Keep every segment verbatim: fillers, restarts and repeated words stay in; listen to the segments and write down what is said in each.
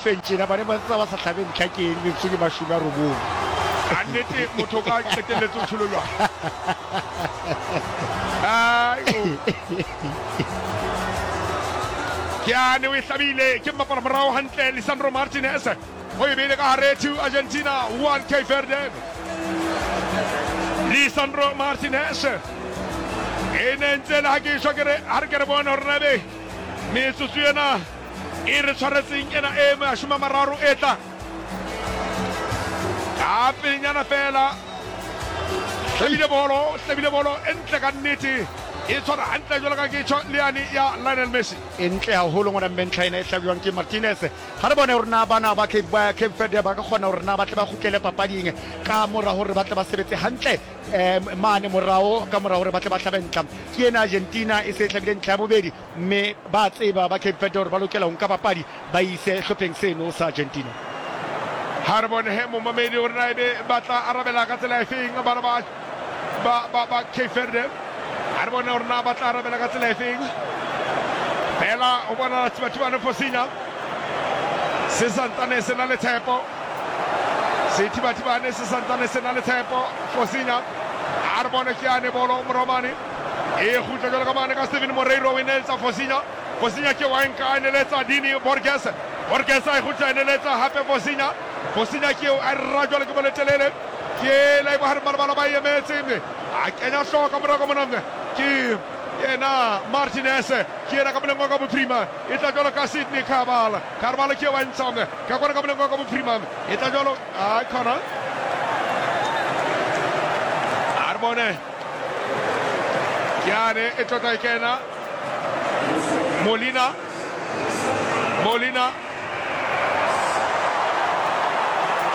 feng tjena ba ne ba tsa ba sa hlabe ntlha ke eng metsotso ke mashome a robong. Ka nnete motho o ka qetelletse o tjholo jwang. Ai, o. Ke ane o e hlabile ke mmapala morao hantle Lisandro Martinez o e beile ka hare two Argentina one Cape Verde. Lisandro Martinez e ne ntse le ha ke shwa ke re ha re ke re bone hore na ebe metsotso ena e re tshwaretseng ena e mashome a mararo e tla ka pelenyana fela. Hlabile bolo, hlabile bolo e ntle ka nnete, e tshwara hantle jwalo ka ke tjho le yane ya Lionel Messi. E ntle haholo ngwana mme ntlha ena e hlabiwang ke Martinez. Ha re bone hore na bana ba Cape, ba Cape Verde ba ka kgona hore na ba tle ba kgutlele papading ka mora hore ba tle ba sebetse hantle eh, mane morao ka mora hore ba tle ba hlabe ntlha. Ke ena Argentina e se e hlabile ntlha ya bobedi, mme ba tseba ba Cape Verde hore ba lokela ho nka papadi ba ise hlopheng seno sa Argentina. Ha re bone he momamedi hore na ebe ba tla arabela ka tsela efeng bana ba ba ba ba Cape Verde. Ha re bone hore na ba tla arabela ka tsela efeng. Fela ho bona Thibathibane Fosinya se santsane se na le tshepo. Sethibathibane se santsane se na le tshepo. Fosinya ha re bone ke ane bolo moromane e kgutla jwalo ka mane ka Steven Moreiro o e neletsa Fosinya. Fosinya ke wa nka a neletsa Dini Borges. Borges a e kgutla e neletsa hape Fosinya. Fosinya ke eo a rra jwalo ke boletelele. Ke la e bohareng ba lebala ba e emetse mme a kenya hlooho ka morao ka mona ke yena Martinez. Ke yena ka moleng wa ka bophirima e tla jwalo ka Sydney Cabral. Cabral ke eo a ntsha ka kwana ka moleng wa ka bophirima e tla jwalo a khona. A re bone ke ane e tlotla e kena Molina. Molina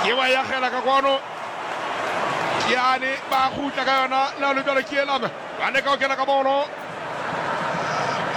ke wa yagela ka kwano. Ke ane ba kgutla ka yona le le jwalo ke ela ba leka ho kena ka bolo.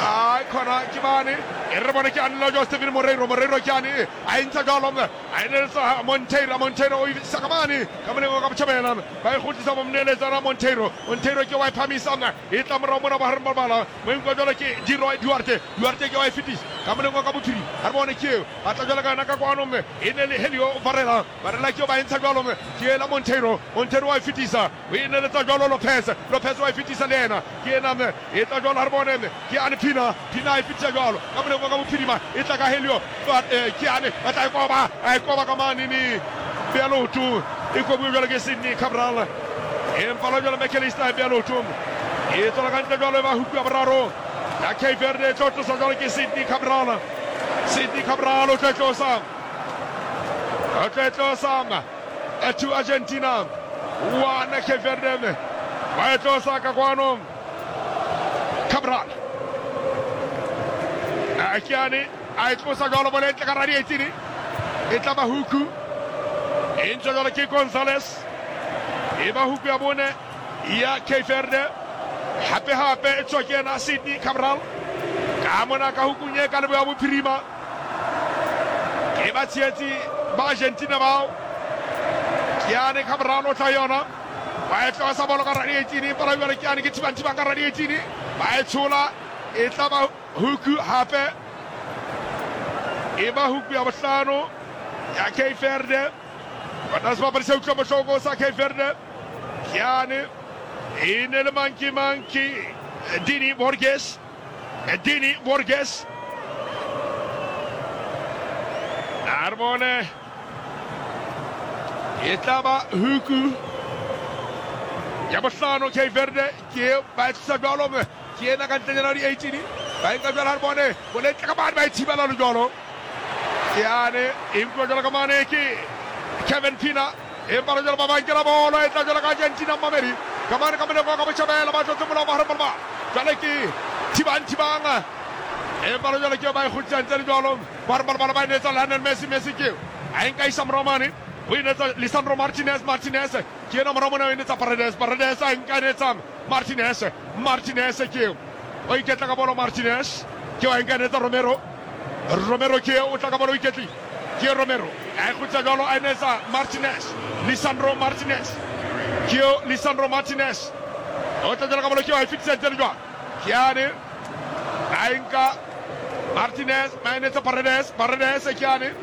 Ai khona ke bane e re bone ke ane la jwa Steven Moreiro. Moreiro ke ane a e ntsha jwalo a e neletsa Monteiro. Monteiro o isa ka mane ka moleng wa ka botjhabela ba e kgutlisa ba mo neletsa Monteiro. Monteiro ke wa e phamisa e tla morao mona bohareng ba lebala mo nka jwalo ke Diroy Duarte. Duarte ke wa e fetisa ka moleng wa ka bophirima. Ha re bone ke eo ba tla jwalo ka yona ka kwano mme e ne le Helio Varela. Varela ke eo ba e ntsha jwalo mme ke ela Monteiro. Monteiro wa e fetisa o e neletsa jwalo Lopez. Lopez wa e fetisa le yena ke ena mme e tla jwalo ha re bone mme ke ane Pina. Pina e fetisa jwalo ka moleng wa ka bophirima e tla ka Helio ke ane ba tla e koba a e koba ka mane ni bea leoto e kobuwe jwalo ke Sydney Cabral. Empa la jwalo McAllister e bea leoto e tswela ka ntle jwalo e ba huku ya boraro ya Cape Verde e tlo tlosa jwalo ke Sydney Cabral. Sydney Cabral o tlo tlosa o tlo tlosa two Argentina one Cape Verde ba e tlosa ka kwano Cabral a ke ane a e tlosa jwalo bolo e ntle ka radietsini e tla ba huku e ntse jwalo ke Gonzales e ba huku ya bone ya Cape Verde. Hape hape e tswa ke yena Sydney Cabral ka mona ka hukung e ka leboya bophirima ke ba tshehetsi ba Argentina bao. Ke ane Cabral o tla yona ba e tlosa bolo ka radietsini empa la jwale ke ane ke thibang thibang ka radietsini ba e tshola e tla ba huku hape e ba huku ya bohlano ya Cape Verde. Bona sebapadi se utlwa bohloko sa Cape Verde ke ane e ne le mang ke mang ke Dini Borges. Dini Borges a re bone e tla ba huku ya bohlano Cape Verde ke ba e tlosa jwalo ke ena ka ntlenyana di eighteen ba e nka jwalo ha re bone bolo e tla ka mane ba e thibela le jwalo ke ane e nkuwa jwalo ka mane ke Kevin Pina empa le jwalo ba ba nkela bolo e tla jwalo ka Argentina mamedi ka mane ka moleng wa ka botjhabela ba tlotse molao bohareng ba lebala jwale ke thibang thibang empa le jwalo ke ba e kgutlisang tse le jwalo bohareng ba lebala ba e netsa Lionel Messi. Messi ke a e nka isa morao mane o e netsa Lisandro Martinez. Martinez ke ena morao mona o e netsa Paredes. Paredes a e nka netsa Martinez. Martinez ke o iketla ka bolo Martinez ke wa e nka netsa Romero. Romero ke o tla ka bolo o iketlile ke Romero a e kgutla jwalo a e netsa Martinez. Lisandro Martinez ke Lisandro Martinez o tla jwalo ka bolo ke wa e fetisa ntle le jwalo ke ane a e nka Martinez ba e netsa Paredes. Paredes ke ane